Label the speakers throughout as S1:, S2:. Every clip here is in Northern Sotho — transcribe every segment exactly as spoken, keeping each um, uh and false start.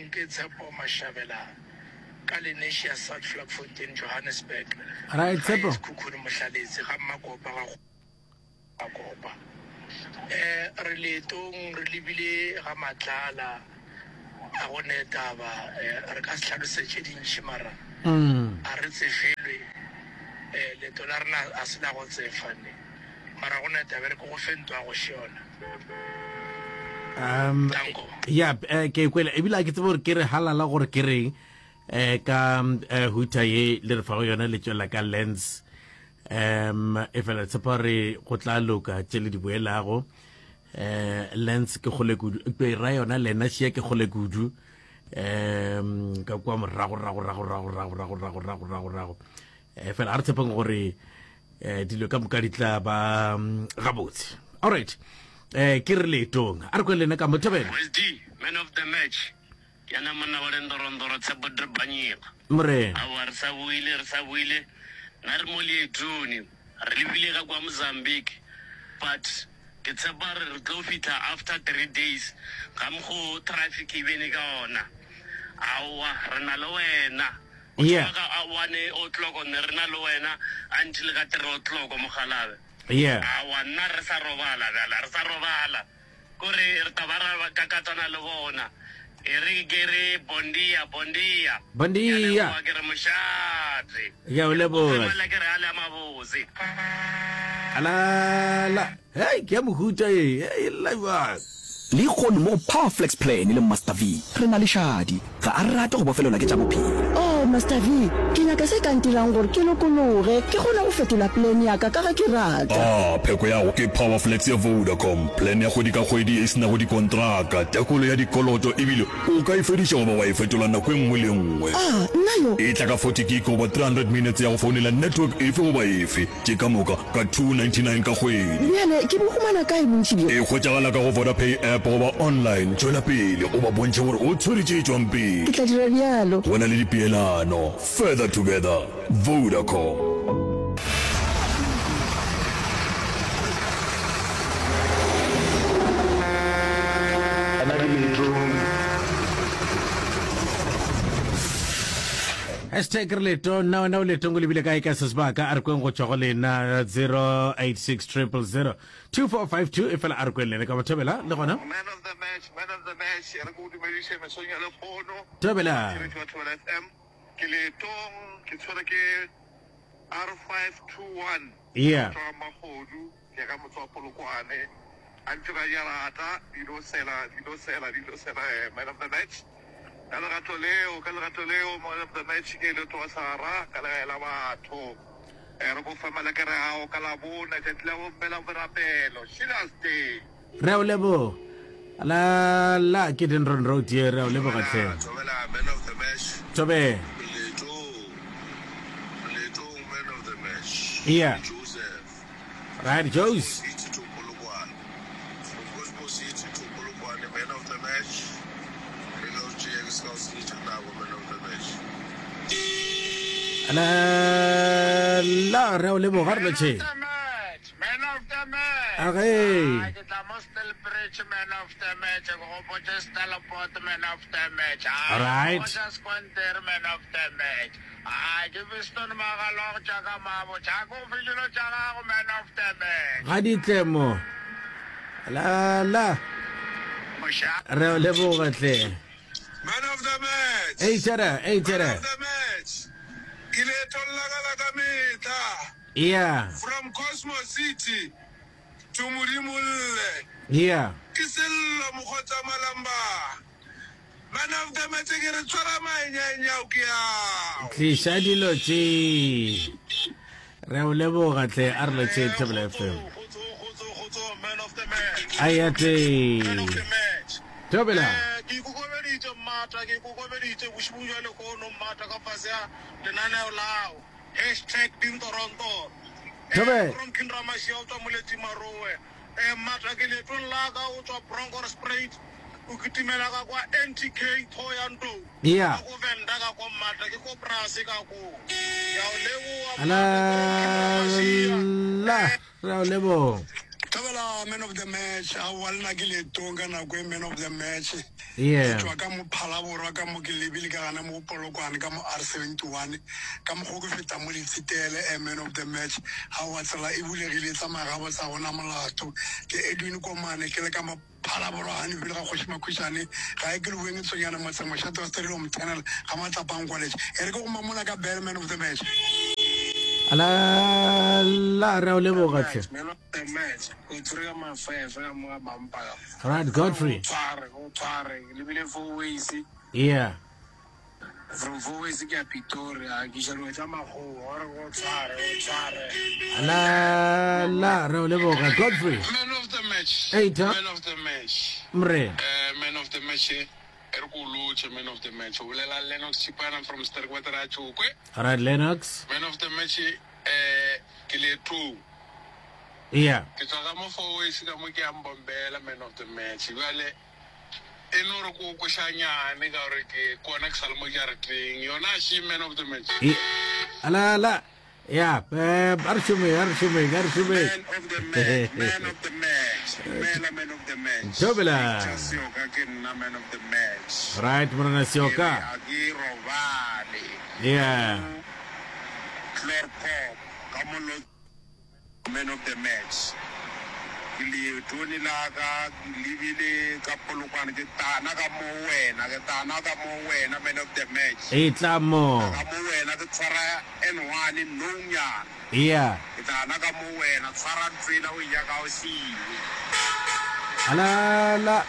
S1: Leetong ke Tshepo Mashabela ka Lenasia South Vlakfontein Johannesburg.
S2: Right,
S1: Gae
S2: Tshepo.
S1: Sekhukhune Mohlaletse ga Mmakopa ga Makopa. Eh re leetong re lebile ga Matlala a go ne taba eh, re ka se hlalose tše dintši mara
S2: Mm.
S1: a re tsefelwe eh leeto la rena a se la go tsefa ne mara go ne taba e re ke go fe ntwa go šona.
S2: Um,
S1: Danko.
S2: ya eh, ke kwele ebile a ke tsebe gore ke re halala gore ke reng eh ka eh, huta ye le re fago yona le tšwela ka lens um e fela tshepa gore go tla loka tše le di boelago eh lens ke kgole kudu ke ra yona lena šia ke kgole kudu um ka kwa morago rago rago rago rago rago rago rago rago rago eh fela a re tshepeng gore eh dilo ka moka di tla ba mm, gabotse alright eh ke re leetong a re kwe lena ka mothobela
S3: West D, man of the match. Ke yena monna wa lendorondoro Tshepo Drebanyega.
S2: morena
S3: Aowa re sa boile, re sa boile. Nna re mo leetong, re lebile ka kwa Mozambique. But ke tshepa re re tlo fihla after three days ga mokgo traffic e bene ka ona. Aowa re na le wena. O
S2: Yeah.
S3: thoma ka one o'clock ne re na le wena until ka three o'clock mogalabe.
S2: yeah
S3: Aowa nna re sa robala bjala, re sa robala. Kore re tla ba ra kakatana le bona. E re ke re bondia, bondia.
S2: Bon
S3: Ke a
S2: dia.
S3: leboga, ke re mošate.
S2: Ya o leboga.
S3: Femela ke re a le a mabose.
S2: Alala. Hey, ke ya mohuta ye. Hey, e lla jwang?
S4: Lehono mo go Powerflex Plan le Master V, re na le Shadi. Ga a rate go bofelelwa ke tša bophelo.
S5: Oh, Master V, ke nyaka se ka ntirang gore ke lokologe, ke kgone go fetola plan ya ka ka ge ke rata.
S6: Ah, pheko ya go ke Powerflex ya Vodacom, plan ya kgwedi ka kgwedi e se nago dikontraka, tekolo ya dikoloto ebile o ka e fediša goba wa e fetola nako e nngwe le nngwe.
S5: Ah, nna yo.
S6: E tla ka forty gig goba three hundred minutes ya go founela network efe goba efe, tše ka moka ka two ninety-nine ka kgwedi.
S5: Bjale ke bo humana kae bontši bjo?
S6: E hwetšagala ka go Vodapay app goba online. Tšwela pele o ba bontšhe gore o tshwere tše tšwang pele.
S5: Ke tla dira bjalo.
S6: Go na le dipeelano. Further together. Vodacom.
S7: Nna ke leetong.
S2: Hashtag re leetong. Nna wena o leetong o lebile kae ka se sebaka? A re kweng go tšwa go lena zero eight six triple zero two four five two. E fela a re kweng lena ka bothobela le gona.
S8: Man of the match, man of the match, re ko dumediše mesong ya lehono.
S2: Thobela.
S8: Ke wa Thobela F M. Ke leetong, ke tshwere ke R five two one.
S2: Yeah.
S8: Go tšwa Magodu, ke ya ka motse wa Polokwane. A ntse ba ja rata, dilo sela, dilo sela, dilo sela, eh, man of the match. Ka lerato leo, ka lerato leo, man of the match ke leeto wa Sara, ka legae la batho. Eh, re go fa malekere ao ka labone, tšatši la bomme la borapelo, Sheila's Day.
S2: Re a o leboga. La la ke Dendron Road ye, re a o leboga hle.
S8: Thobela, man of the match.
S2: Thobela.
S8: Leetong, leetong, man of the match.
S2: Yeah.
S8: Joseph.
S2: Right, Jose.
S8: City to Polokwane. From Gospel City to Polokwane, man of the match. Re no tšea ke se ka o senyetša nako, man of the match.
S2: La la re a o leboga re lotšhe.
S8: Man of the match.
S2: Age.
S8: Ah, ke tla mo Stillbridge, man of the match. Ke gopotše Stellenbosch, man of the match. Ah,
S2: All right.
S8: ke gopotše Squanter, man of the match. Ah, ke Fiston Magalo, tša ka mabo. Tša ko fe dilo tša gago, man of the match.
S2: Ga di tle mo. La la.
S8: Moša.
S2: Re a o leboga hle.
S8: Man of the match.
S2: Ei tšere, ei tšere.
S8: Man of the match. Ke leetong la ka la ka mehla.
S2: Yeah.
S8: From Cosmo City to Modimolle.
S2: Yeah.
S8: Ke Sello Mokgotsa Malamba. Man of the match ke re tshwara maenyaenyao ke ao.
S2: Tliša dilo tše. Re a o leboga hle, a re lotšhe Thobela F M.
S8: Man of the match.
S2: Aya te.
S8: Man of the match.
S2: Thobela.
S8: Eh, ke ikokobeditše mmata, ke ikokobeditše bošego bja lehono mmata ka fase ya lenaneo lao. Hashtag Dintorontoro. Eh,
S2: Thobela.
S8: from King Ramashia o tswa Moletši Marowe. Eh, mmata ke leetong la ka o tswa Bronkhorstspruit. O kitimela ka kwa N T K Thohoyandou.
S2: Yeah.
S8: Ka ko Venda ka ko mmata ke ko Brase ka ko. Ke a o leboga,
S2: Ala,
S8: mmata, from King Ramashia.
S2: la, re a o leboga.
S1: Thabela man of the match aowa le na ke leetong ka nako e man of the match ke
S2: Yeah.
S1: tšwa ka mo Phalaborwa ka mo ke lebile ka gana mo Polokwane ka mo R seventy one ka mokgo ke feta mo Letsitele eh, man of the match aowa tsela e bulegile e tsamaya gabotse ga gona molato ke Edwin Komane ke le ka mo Phalaborwa Haniville ga Kgoši Makhušane ga e ke Leboeng Tsonyana motseng mošate wa Sterilo Tunnel ga Matlapang College e re ke go mamola ka bell man of the match.
S2: La la re a o leboga tlhe.
S7: Man of the match o tshwere ka mafefe ka mo ka bampa ka
S2: Right Godfrey.
S7: o tshware o tshware lebile four ways
S2: Yeah.
S7: from four ways ke ya Pretoria ke iša dilo tša makgowa gore o tshware o tshware
S2: La la re o leboga Godfrey.
S9: Man of the match.
S2: Hey, ta.
S9: Man of the match.
S2: Mre.
S9: Uh, man of the match. E re ko lotšhe man of the match. O bolela Lennox Chipana from Sterkwater a Tšhokwe.
S2: All right Lennox.
S9: Man of the match eh ke leetong.
S2: Yeah.
S9: Ke tswa ka mo four ways ka mo ke ya Mbombela man of the match. Bjale e no re ko košanyane ka gore ke kona ke sa le mo jarateng. Yona she man of the match.
S2: E la la ya eh a re šome a re šome a re šome.
S7: Man of the match, man of the match, dumela man of the match.
S2: Thobela.
S7: Victor Seoka ke nna man of the match.
S2: Right morena
S7: Ke re
S2: Seoka.
S7: a ke robale.
S2: Yeah.
S7: Chloorkop ka mo man of the match. Ke leetone la ka ke lebile ka Polokwane ke tana ka mo wena ke tana ka mo wena man of the match.
S2: E tla mo.
S7: Ka mo wena ke tshwara N one nonyana.
S2: Yeah.
S7: Ke tana ka mo wena tshwara ntsela o ya ka o siwe.
S2: La la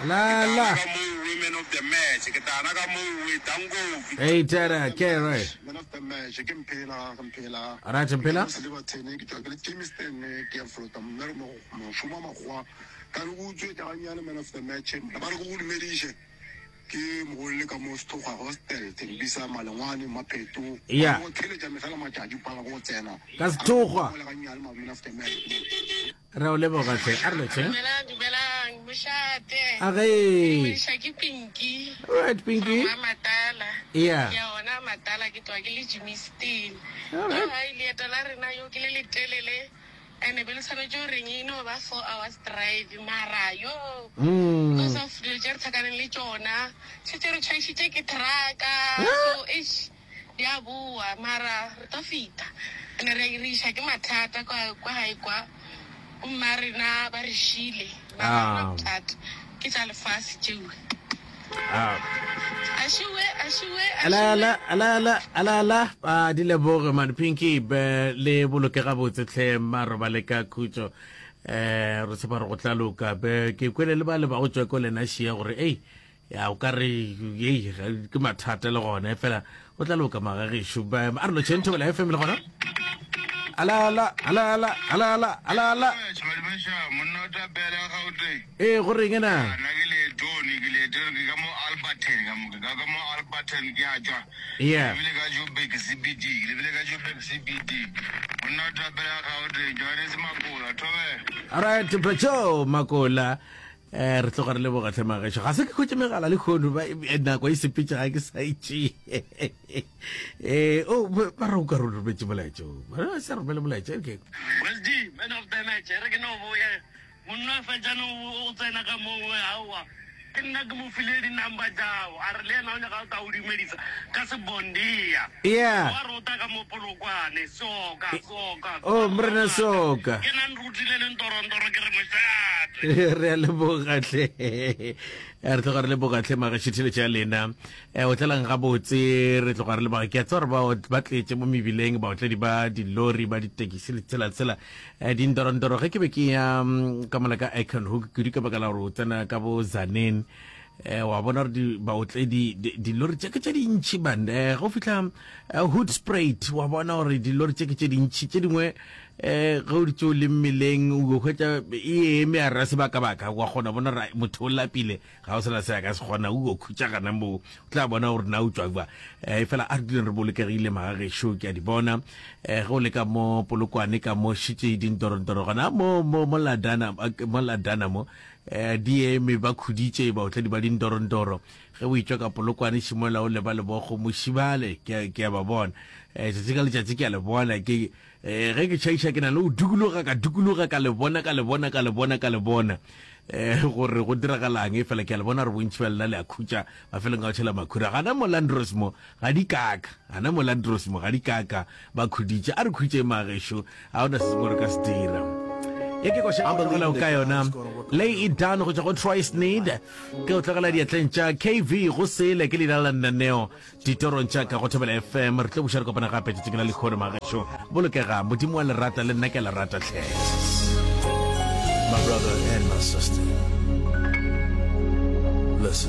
S2: la la.
S7: Ka mo we man of the match ke tana ka mo we dangovi.
S2: Hey Tara, ke right.
S10: Man of the match ke Mphela ke Mphela.
S2: Right Mphela.
S10: Ke Silverton ke tšwa ke le Germiston ke ya Flota mme re mošomo wa makgowa ka re go utswetša gannyane man of the match ba re go go dumediše ke mogolole ka mo Sethoga hostel Thembisa Malengwane Mapheto
S2: Yeah.
S10: go theletša mehla le matšatši pala go tsena
S2: Ka Sethoga.
S10: Go le gannyane man of the match
S2: Re o leboga tlhe. A re lotšhe.
S11: Dumelang, dumelang, mošate.
S2: A ge.
S11: Dumediša ke Pinky.
S2: Right Pinky.
S11: From Matala.
S2: Yeah.
S11: Ke ya ona Matala ke tloga ke le Germiston.
S2: All right.
S11: Yo, hai, leeto la rena yo ke le letelele. And be le tshwanetse go reng e no ba four hours drive mara yo
S2: Mm.
S11: because of dilo tše re tlhakaneng le tšona šetse re tšhaišitše ke trucka so eish di a boa mara re tlo feta ene re re iša ke mathata kwa kwa gae kwa mma rena ba re šile mara
S2: Ah.
S11: ga gona bothata ke tša lefase tšeo
S2: Ah.
S11: a šiwe a šiwe a
S2: La la la la la la a di leboge man Pinky be le boloke gabotse tlhe maroba le ka khutšo eh re tshepa re go tla loka be ke kwele le ba le ba go tswa ko lena šia gore ei ya o ka re ei ga- ke mathata le gona fela o tla loka magagešo ba a re lotšheng Thobela F M le gona ala ala ala ala ala ala ala ala
S9: Monna o tapela Gauteng.
S2: ee go reng ena
S9: Nna ke leetong ke leetong ke ka mo Alberton ka mo ke ka ka mo Alberton ke a tšwa.
S2: Yeah.
S9: Ke lebile ka Joburg C B D ke lebile ka Joburg C B D. Monna o tapela Gauteng Johannes Makola thobela.
S2: Alright Pacho Makola eh re tloga re leboga tlhe magešo ga se ke khutše megala le kgono ba eh, nako e sepetše ga ke sa itše eh o ba ba re o ka re o rometse molaetša o ba re sa romele molaetša okay
S3: West D, man of the match. Re ke no boya. Monna fetša no o tsena ka moo aowa. Ke nna ke mo file di-number tšao. A re le yena o nyaka go tla o dumedisa ka sebondia.
S2: Yeah.
S3: Wa rota ka mo Polokwane. Soka, soka.
S2: Oh, morena Soka.
S3: Ke nna nrutile le ntorontoro ke re mošate.
S2: re a leboga tlhe Eh, re tloga re leboga tlhe magašo theletšo ya lena um o tlelang gabotse re tloga re leboga ke a tseba gore ba ba tletše mo mebileng baotledi ba dilori ba ditekisi le tsela tsela um dintorontoro ge ke be ke ya mm, ka mola ka Acornhoek kudu ka baka la gore o tsena ka bo Tzaneen eh wa bona gore di- baotledi di- dilori tše ke tše dintšhi man eh go fihla eh, Hoedspruit wa bona gore dilori tše ke tše dintšhi tše dingwe eh ge o ditse o le mmeleng o hwetša e eme a ra sebakabaka wa kgona bona gore motho o lapile ga o sena se a ka se kgona o khutša gana moo o tla bona gore na o tswa kwa eh fela a re duleng re bolokegile magagešo ke a di bona eh ge o le ka mo Polokwane ka mo šitše dintorontoro gona mo mo mo Ladana mo Ladana mo eh di eme ba khuditše baotledi ba dintorontoro ge o itšwa ka Polokwane šimola o leba lebogo mošibale ke a- ke a ba bona eh tšatši ka letšatši ke a le bona ke um ge ke tšhaiša ke na le go dukologa ka dukologa ka le bona ka le bona ka le bona ka le bona um gore go diragalang e fela ke a le bona gore bontši ba lena le a khutša mafelong a go tšhela makhura gana mo landros mo ga di kaka gana mo landros mo ga di kaka ba khuditše a re khutšeng magešo ga ona se sengwe re ka se dira ye ke koša e tlogelago ka yona lay it down go tšwa go Troy Sneed ke o tlogela diatleng tša K V go sele ke leina la lenaneo ditorong tša ka go Thobela F M re tlo buša re kopana gape tšatšing la lehono magešo bolokega modimo wa lerata le nna ke a lerata hle.
S12: My brother and my sister, listen.